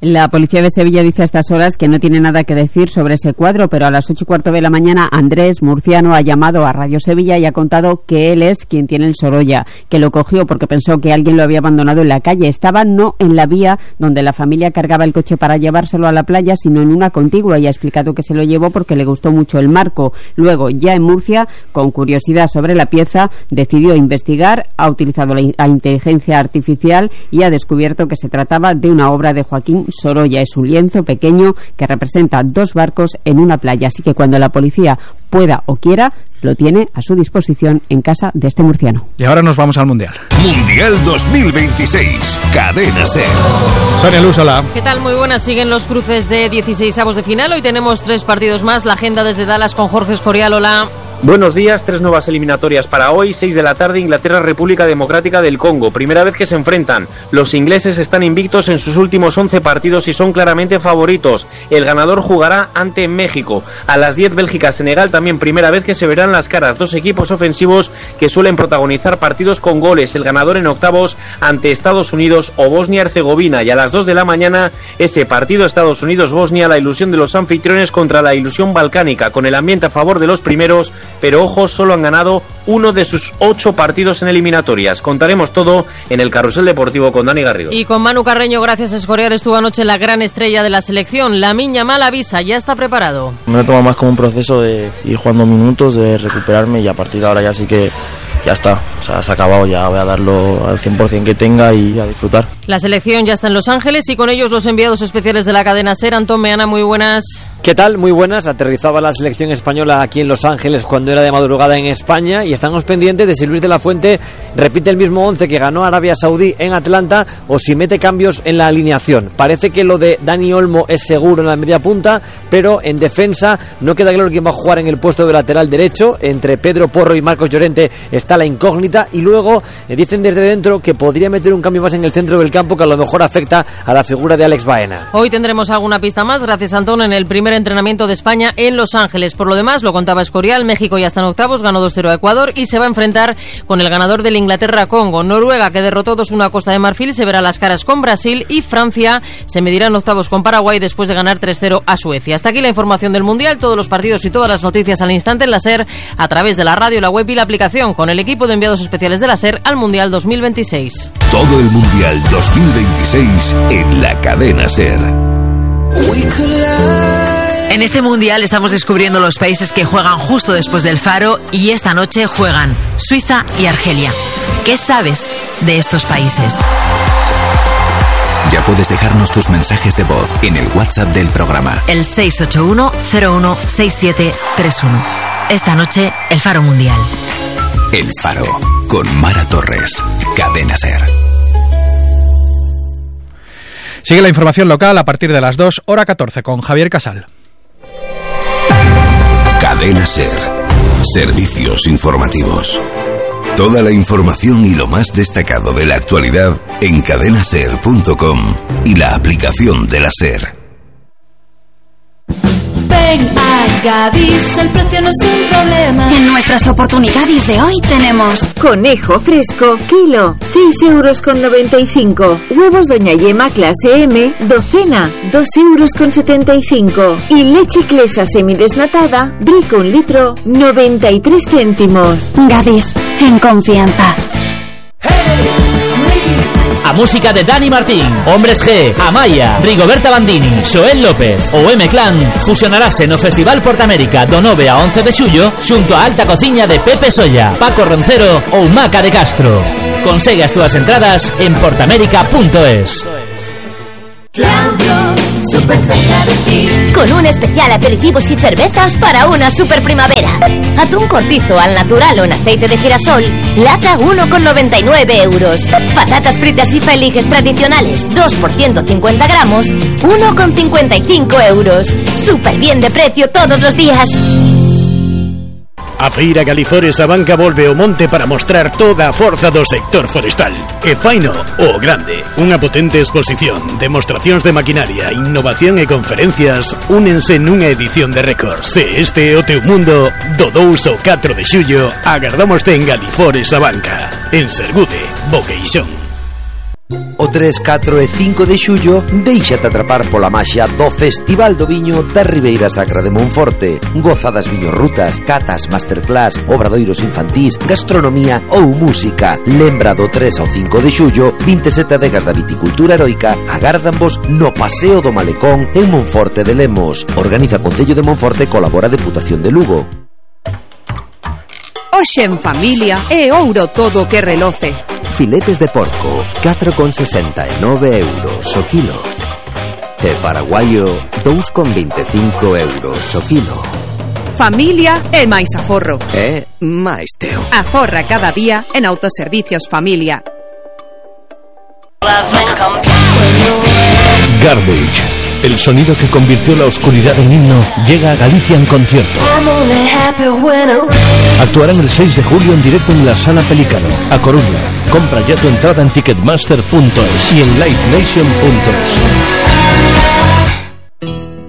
La policía de Sevilla dice a estas horas que no tiene nada que decir sobre ese cuadro, pero a las ocho y cuarto de la mañana Andrés Murciano ha llamado a Radio Sevilla y ha contado que él es quien tiene el Sorolla, que lo cogió porque pensó que alguien lo había abandonado en la calle. Estaba no en la vía donde la familia cargaba el coche para llevárselo a la playa, sino en una contigua, y ha explicado que se lo llevó porque le gustó mucho el marco. Luego, ya en Murcia, con curiosidad sobre la pieza, decidió investigar, ha utilizado la inteligencia artificial y ha descubierto que se trataba de una obra de Joaquín Sorolla. Es un lienzo pequeño que representa dos barcos en una playa, así que cuando la policía pueda o quiera, lo tiene a su disposición en casa de este murciano. Y ahora nos vamos al Mundial. Mundial dos mil veintiséis, Cadena SER. Sonia Luz, hola. ¿Qué tal? Muy buenas. Siguen los cruces de dieciseisavos de final. Hoy tenemos tres partidos más. La agenda desde Dallas con Jorge Escorial. Hola. Buenos días, tres nuevas eliminatorias para hoy, seis de la tarde, Inglaterra, República Democrática del Congo, primera vez que se enfrentan. Los ingleses están invictos en sus últimos once partidos y son claramente favoritos. El ganador jugará ante México. A las diez, Bélgica, Senegal, también primera vez que se verán las caras, dos equipos ofensivos que suelen protagonizar partidos con goles. El ganador en octavos ante Estados Unidos o Bosnia-Herzegovina, y a las dos de la mañana ese partido Estados Unidos-Bosnia, la ilusión de los anfitriones contra la ilusión balcánica, con el ambiente a favor de los primeros, pero ojo, solo han ganado uno de sus ocho partidos en eliminatorias. Contaremos todo en el Carrusel Deportivo con Dani Garrido. Y con Manu Carreño, gracias a Escorial, estuvo anoche la gran estrella de la selección. Lamine Yamal avisa, ya está preparado. Me lo tomo más como un proceso de ir jugando minutos, de recuperarme, y a partir de ahora ya sí que ya está, o sea, se ha acabado, ya voy a darlo al cien por ciento que tenga y a disfrutar. La selección ya está en Los Ángeles y con ellos los enviados especiales de la cadena SER. Antón Meana, muy buenas. ¿Qué tal? Muy buenas. Aterrizaba la selección española aquí en Los Ángeles cuando era de madrugada en España, y estamos pendientes de si Luis de la Fuente repite el mismo once que ganó Arabia Saudí en Atlanta o si mete cambios en la alineación. Parece que lo de Dani Olmo es seguro en la media punta, pero en defensa no queda claro quién va a jugar en el puesto de lateral derecho. Entre Pedro Porro y Marcos Llorente está la incógnita, y luego eh, dicen desde dentro que podría meter un cambio más en el centro del campo que a lo mejor afecta a la figura de Alex Baena. Hoy tendremos alguna pista más, gracias Antón, en el primer entrenamiento de España en Los Ángeles. Por lo demás, lo contaba Escorial, México ya está en octavos, ganó dos cero a Ecuador y se va a enfrentar con el ganador del Inglaterra-Congo. Noruega, que derrotó dos uno a Costa de Marfil, se verá las caras con Brasil, y Francia se medirá en octavos con Paraguay después de ganar tres cero a Suecia. Hasta aquí la información del Mundial, todos los partidos y todas las noticias al instante en la SER, a través de la radio, la web y la aplicación, con el equipo de enviados especiales de la SER al Mundial dos mil veintiséis. Todo el Mundial dos mil veintiséis en la cadena SER. En este Mundial estamos descubriendo los países que juegan justo después del faro, y esta noche juegan Suiza y Argelia. ¿Qué sabes de estos países? Ya puedes dejarnos tus mensajes de voz en el WhatsApp del programa. El seis ocho uno cero uno seis siete tres uno. Esta noche, el Faro Mundial. El Faro, con Mara Torres. Cadena SER. Sigue la información local a partir de las dos, hora catorce, con Javier Casal. Cadena SER. Servicios informativos. Toda la información y lo más destacado de la actualidad en cadena ser punto com y la aplicación de la SER. Ven a Gadis, el precio no es un problema. En nuestras oportunidades de hoy tenemos conejo fresco, kilo, seis euros con noventa y cinco. Huevos Doña Yema clase M, docena, dos euros con setenta y cinco. Y leche Clesa semidesnatada, Brico un litro, noventa y tres céntimos. Gadis, en confianza. A música de Dani Martín, Hombres G, Amaya, Rigoberta Bandini, Xoel López ou M-Clan fusionarase no Festival Portamérica do nove a once de xullo xunto a Alta Cociña de Pepe Solla, Paco Roncero ou Maca de Castro. Consegue as túas entradas en portamérica punto es. Claudio, súper cerca de ti. Con un especial aperitivos y cervezas para una super primavera. Atún cortizo al natural o en aceite de girasol, lata uno con noventa y nueve euros. Patatas fritas y feliges tradicionales, dos por ciento cincuenta gramos, uno con cincuenta y cinco euros. Súper bien de precio todos los días. A Feira Galifores a Banca volve ao monte para mostrar toda a forza do sector forestal. E faino o grande. Unha potente exposición, demostracións de maquinaria, innovación e conferencias únense nunha edición de récord. Se este é o teu mundo, do dous ao catro de xullo, agardámoste en Galifores a Banca. En Sergude, Boqueixón. O tres, catro e cinco de xullo déixate atrapar pola maxia do Festival do Viño da Ribeira Sacra de Monforte. Goza das viñorrutas, catas, masterclass, obradoiros infantís, gastronomía ou música. Lembra do tres ao cinco de xullo, vinte e sete adegas da viticultura heroica agárdanvos no Paseo do Malecón en Monforte de Lemos. Organiza Concello de Monforte, colabora Deputación de Lugo. Hoxe en familia é ouro todo o que reloce. Filetes de porco, catro con sesenta e nove euros o kilo. E paraguaio, dous con vinte e cinco euros o kilo. Familia e máis aforro. E máis teo. Aforra cada día en Autoservicios Familia. Garbage. El sonido que convirtió la oscuridad en himno llega a Galicia en concierto. Actuarán el seis de julio en directo en la Sala Pelícano, a Coruña. Compra ya tu entrada en ticketmaster punto es y en live nation punto es.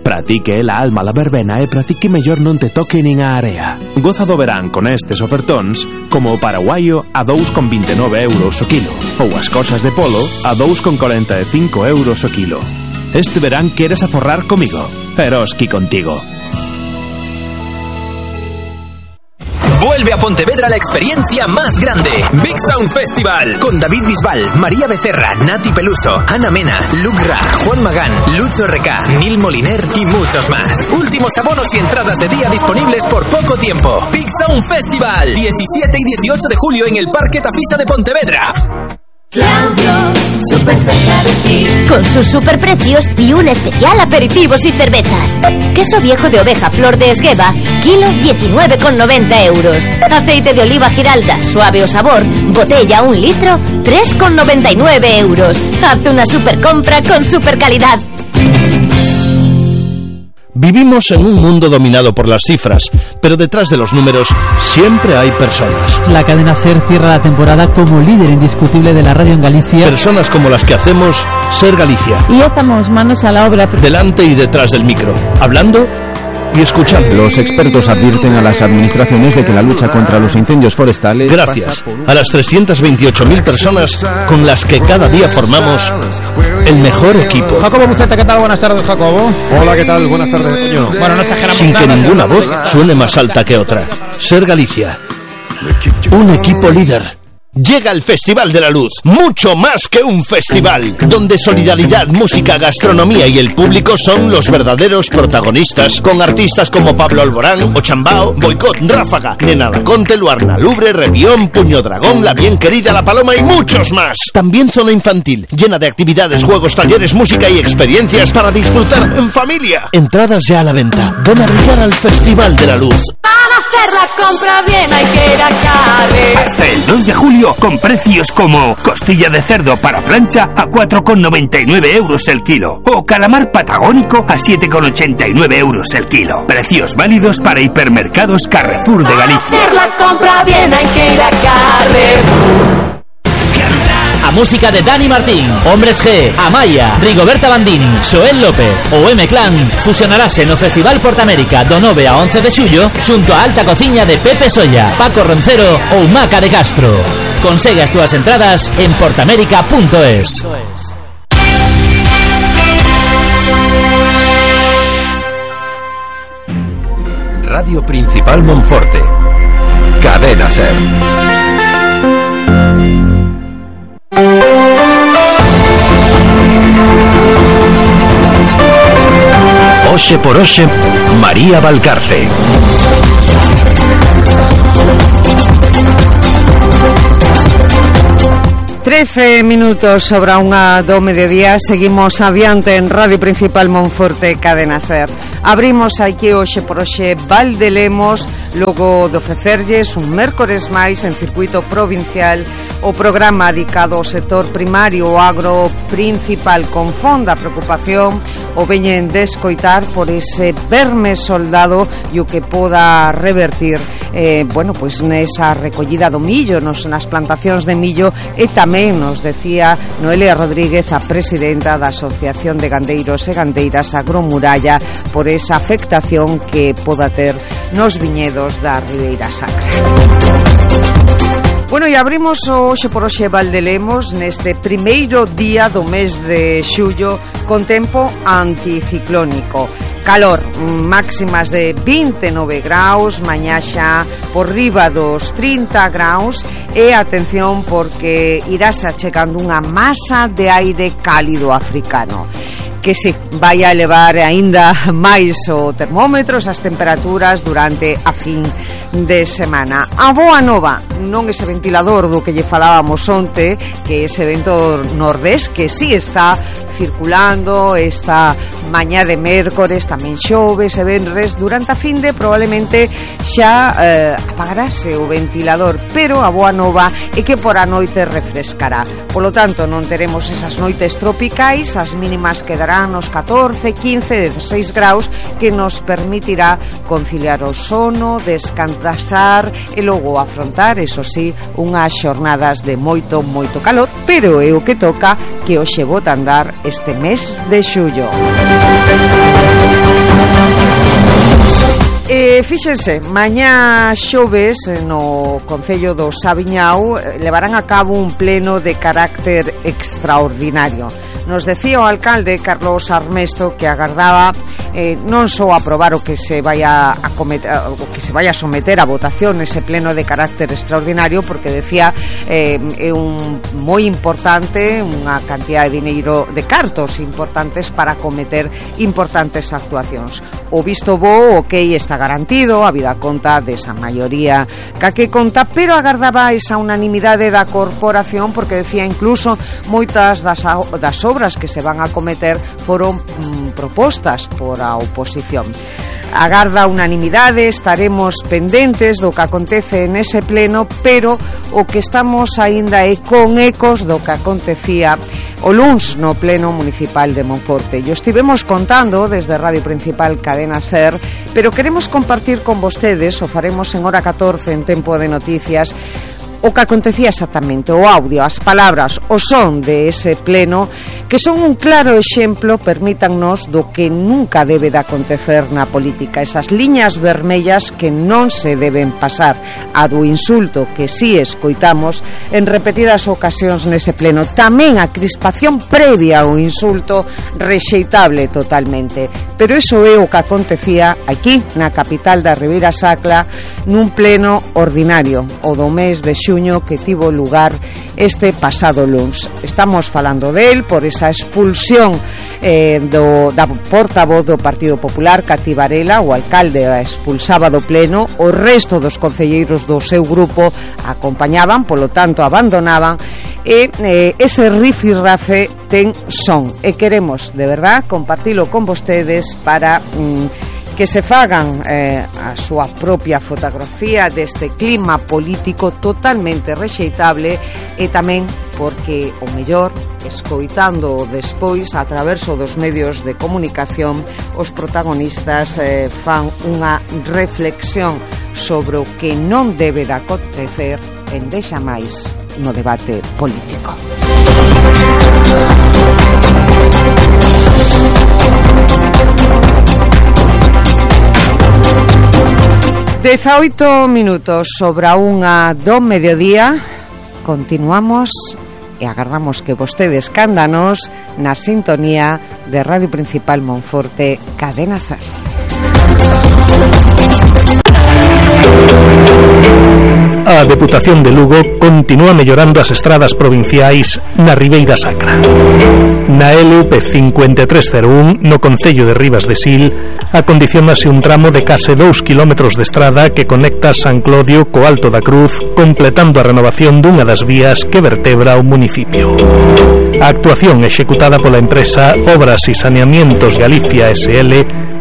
Pratique la alma la verbena e pratique mellor non te toque nin a area. Goza do verán con estes ofertóns como o paraguaio a dous con vinte e nove euros o kilo ou as cosas de polo a dous con corenta e cinco euros o kilo. Este verán queres aforrar comigo, Eroski contigo. Vuelve a Pontevedra la experiencia más grande, Big Sound Festival, con David Bisbal, María Becerra, Nati Peluso, Ana Mena, Luke Ra, Juan Magán, Lucho R K, Nil Moliner y muchos más. Últimos abonos y entradas de día disponibles por poco tiempo. Big Sound Festival, diecisiete y dieciocho de julio en el Parque Tafisa de Pontevedra. Claudio, super cerca de ti, con sus superprecios y un especial aperitivos y cervezas. Queso viejo de oveja Flor de Esgueva, kilo diecinueve con noventa euros. Aceite de oliva Giralda, suave o sabor, botella un litro, tres con noventa y nueve euros. Haz una super compra con super calidad. Vivimos en un mundo dominado por las cifras, pero detrás de los números siempre hay personas. La cadena SER cierra la temporada como líder indiscutible de la radio en Galicia. Personas como las que hacemos SER Galicia. Y ya estamos manos a la obra. Delante y detrás del micro, hablando y escuchando. Los expertos advierten a las administraciones de que la lucha contra los incendios forestales... Gracias a las trescientas veintiocho mil personas con las que cada día formamos el mejor equipo. Jacobo Buceta, ¿qué tal? Buenas tardes, Jacobo. Hola, ¿qué tal? Buenas tardes, coño. Bueno, no exageramos Sin nada, que ninguna no voz suene más alta que otra. SER Galicia. Un equipo líder. Llega el Festival de la Luz, mucho más que un festival, donde solidaridad, música, gastronomía y el público son los verdaderos protagonistas, con artistas como Pablo Alborán, Ochambao, Boicot, Ráfaga, Nena Laconte, Luarna Lubre, Revión, Puño Dragón, La Bien Querida, La Paloma y muchos más. También zona infantil, llena de actividades, juegos, talleres, música y experiencias para disfrutar en familia. Entradas ya a la venta. Ven a brillar al Festival de la Luz. Para hacer la compra bien hay que ir a Carre. Hasta el dos de julio, con precios como costilla de cerdo para plancha a cuatro con noventa y nueve euros el kilo o calamar patagónico a siete con ochenta y nueve euros el kilo. Precios válidos para hipermercados Carrefour de Galicia. Para hacer la compra bien hay que ir a Carrefour. A música de Dani Martín, Hombres G, Amaya, Rigoberta Bandini, Xoel López ou M-Clan fusionarase no Festival Portamérica do nove a once de xullo xunto a alta cociña de Pepe Solla, Paco Roncero ou Maca de Castro. Consegue as túas entradas en portamérica punto es. Radio Principal Monforte. Cadena SER. Oxe por Oxe, María Valcarce. trece minutos sobre unha do mediodía. Seguimos adiante en Radio Principal Monforte, Cadena SER. Abrimos aquí hoxe por hoxe Valdelemos, logo de ofrecerlles un mércores máis en circuito provincial o programa dedicado ao sector primario o agro principal. Con fonda preocupación o veñen de escoitar por ese verme soldado e o que poda revertir eh, bueno, pois nesa recollida do millo, nos, nas plantacións de millo. E tamén nos decía Noelia Rodríguez, a presidenta da Asociación de Gandeiros e Gandeiras Agromuralla, por esa afectación que poda ter nos viñedos da Ribeira Sacra. Bueno, e abrimos hoxe por hoxe Valdelemos neste primeiro día do mes de xullo con tempo anticiclónico. Calor, máximas de vinte e nove graus, mañá xa por riba dos trinta graus e atención porque irás achegando unha masa de aire cálido africano que se vai a elevar aínda máis o termómetro, as temperaturas durante a fin de semana. A boa nova, non ese ventilador do que lle falábamos onte, que ese vento nordés que sí está circulando esta mañá de mércores, tamén xoves e venres, durante a fin de probablemente xa eh, apagarase o ventilador, pero a boa nova é que por a noite refrescará. Polo tanto, non teremos esas noites tropicais, as mínimas quedarán nos catorce, quince, dezasseis graus, que nos permitirá conciliar o sono, descansar e logo afrontar, eso sí, unhas xornadas de moito, moito calor, pero é o que toca que hoxe bota a andar este mes de xullo. E fíxense, mañá xoves no Concello do Sabiñao levarán a cabo un pleno de carácter extraordinario. Nos decía o alcalde Carlos Armesto que agardaba eh, non só aprobar o que se vaya a cometer, o que se vaya a someter a votación ese pleno de carácter extraordinario, porque decía eh, é un moi importante, unha cantidad de dineiro, de cartos importantes para cometer importantes actuacións. O visto bo, ok, está garantido, a vida conta desa maioría ca que conta, pero agardaba esa unanimidade da corporación, porque decía incluso moitas das, das obras que se van a cometer foron mm, propostas por a oposición. Agarda unanimidade, estaremos pendentes do que acontece nese pleno, pero o que estamos aínda é con ecos do que acontecía o luns no pleno municipal de Monforte. E estivemos contando desde Radio Principal Cadena Ser, pero queremos compartir con vostedes, o faremos en hora catorce en Tempo de Noticias, o que acontecía exactamente, o audio, as palabras, o son de ese pleno, que son un claro exemplo, permítannos, do que nunca debe de acontecer na política, esas liñas vermellas que non se deben pasar, a do insulto que si escoitamos en repetidas ocasións nese pleno, tamén a crispación previa ao insulto, rexeitable totalmente, pero iso é o que acontecía aquí na capital da Ribeira Sacra nun pleno ordinario, o do mes de xuño que tivo lugar este pasado luns. Estamos falando del por esa expulsión eh, do, da portavoz do Partido Popular, Cati Varela. O alcalde a expulsaba do pleno, o resto dos concelleiros do seu grupo acompañaban, polo tanto abandonaban, e eh, ese rifirrafe ten son, e queremos de verdad compartilo con vostedes para mm, que se fagan eh, a súa propia fotografía deste clima político totalmente rexeitable, e tamén porque o mellor, escoitando despois a traverso dos medios de comunicación, os protagonistas eh, fan unha reflexión sobre o que non debe de acontecer en deixa máis no debate político. dezaoito minutos sobre a unha do mediodía. Continuamos e agardamos que vostedes cándanos na sintonía de Radio Principal Monforte, Cadena Ser. A Deputación de Lugo continúa mellorando as estradas provinciais na Ribeira Sacra. Na L P cinco tres cero un, no concello de Ribas de Sil, acondicionase un tramo de case dous kilómetros de estrada que conecta San Clodio co Alto da Cruz, completando a renovación dunha das vías que vertebra o municipio. A actuación executada pola empresa Obras e Saneamientos Galicia S L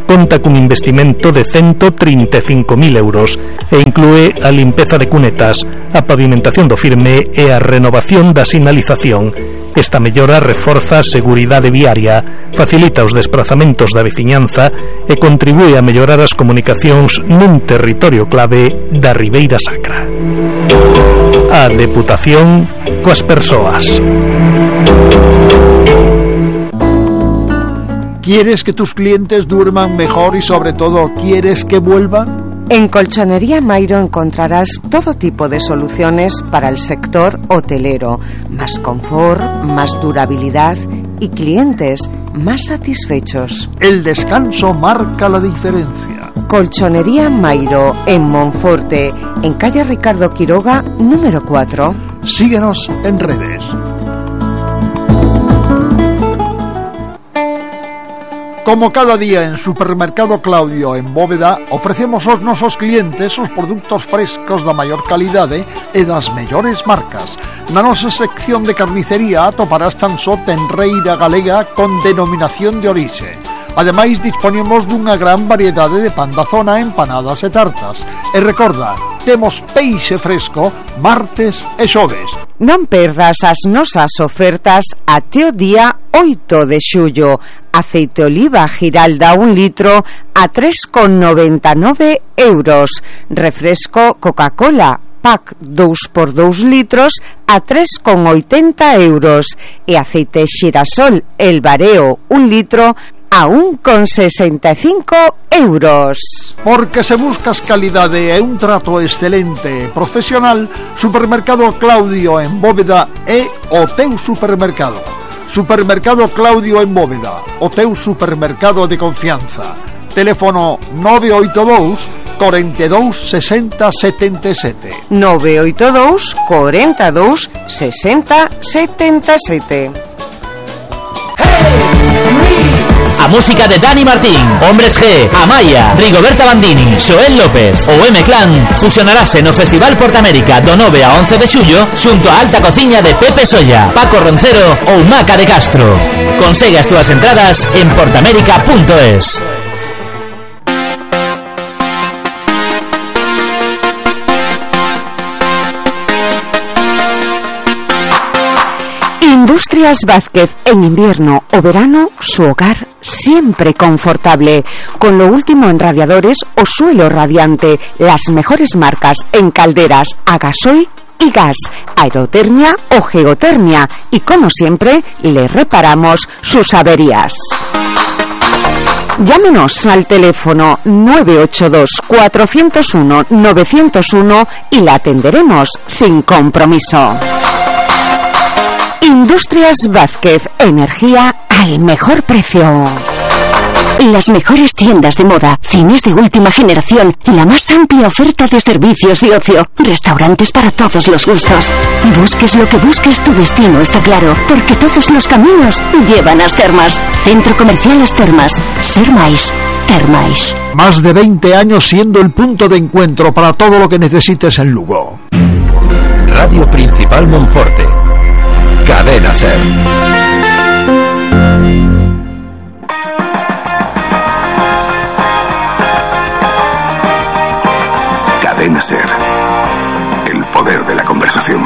conta cun investimento de ciento trinta e cinco mil euros e inclúe a limpeza de cunetas, a pavimentación do firme e a renovación da sinalización. Esta mellora reforza a seguridade viaria, facilita os desplazamentos da veciñanza e contribúe a mellorar as comunicacións nun territorio clave da Ribeira Sacra. A Deputación coas persoas. ¿Quieres que tus clientes duerman mejor y sobre todo quieres que vuelvan? En Colchonería Mairo encontrarás todo tipo de soluciones para el sector hotelero. Más confort, más durabilidad y clientes más satisfechos. El descanso marca la diferencia. Colchonería Mairo en Monforte, en calle Ricardo Quiroga, número cuatro. Síguenos en redes. Como cada día en Supermercado Claudio en Bóveda, ofrecemos aos nosos clientes os produtos frescos da maior calidade e das mellores marcas. Na nosa sección de carnicería atoparás tan só tenreira galega con denominación de orixe. Ademais, disponemos dunha gran variedade de pan da zona, empanadas e tartas. E recorda, temos peixe fresco martes e xoves. Non perdas as nosas ofertas até o día oito de xullo. Aceite oliva Giralda un litro a tres con noventa e nove euros. Refresco Coca-Cola pack dous por dous litros a tres con oitenta euros. E aceite Xirasol El Bareo un litro a un con sesenta e cinco euros. Porque se buscas calidade e un trato excelente e profesional, Supermercado Claudio en Bóveda é o teu supermercado. Supermercado Claudio en Bóveda, o teu supermercado de confianza. Teléfono nove oito dous, cuarenta y dos, sesenta, setenta y siete. nove oito dous, cuarenta y dos, sesenta, setenta y siete. A música de Dani Martín, Hombres G, Amaya, Rigoberta Bandini, Xoel López ou M-Clan fusionarase no Festival Portamérica do nove a once de xullo xunto a alta cociña de Pepe Solla, Paco Roncero ou Maca de Castro. Consegue as túas entradas en portamérica punto es. Industrias Vázquez, en invierno o verano, su hogar siempre confortable. Con lo último en radiadores o suelo radiante, las mejores marcas en calderas a gasoil y gas, aerotermia o geotermia. Y como siempre, le reparamos sus averías. Llámenos al teléfono nueve ocho dos, cuatro cero uno, nueve cero uno y la atenderemos sin compromiso. Industrias Vázquez, energía al mejor precio. Las mejores tiendas de moda, cines de última generación, la más amplia oferta de servicios y ocio, restaurantes para todos los gustos. Busques lo que busques, tu destino está claro, porque todos los caminos llevan a As Termas. Centro Comercial As Termas. Ser máis, ter máis. Más de veinte años siendo el punto de encuentro para todo lo que necesites en Lugo. Radio Principal Monforte. Cadena Ser. Cadena Ser. El poder de la conversación.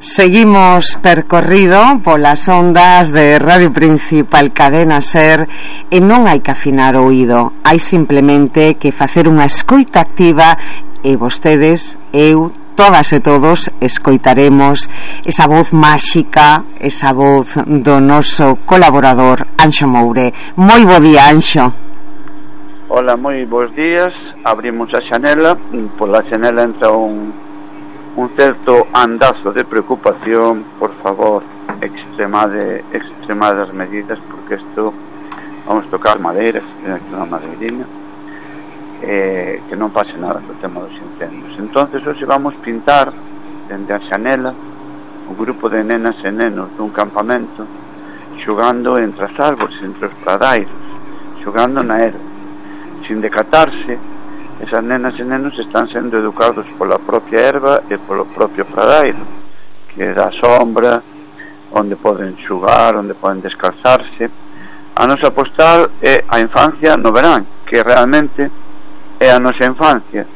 Seguimos percorrido polas ondas de Radio Principal Cadena Ser e non hai que afinar o oído, hai simplemente que facer unha escoita activa e vostedes, eu, todas e todos escoitaremos esa voz máxica, esa voz do noso colaborador Anxo Moure. Moi bo día, Anxo. Hola, moi bons días. Abrimos a xanela, pola xanela entra un un certo andazo de preocupación. Por favor, extremade extremade as medidas, porque isto vamos tocar madeira, unha madeirinha. Eh, que non pase nada co tema dos incendios. Entonces hoxe vamos pintar dende a xanela un grupo de nenas e nenos dun campamento xogando entre as árbores, entre os pradairos, xogando na erva, sin decatarse. Esas nenas e nenos están sendo educados pola propia erva e polo propio pradairo, que dá sombra, onde poden xogar, onde poden descalzarse. A nosa postal é a infancia no verán, que realmente é a nosa infancia,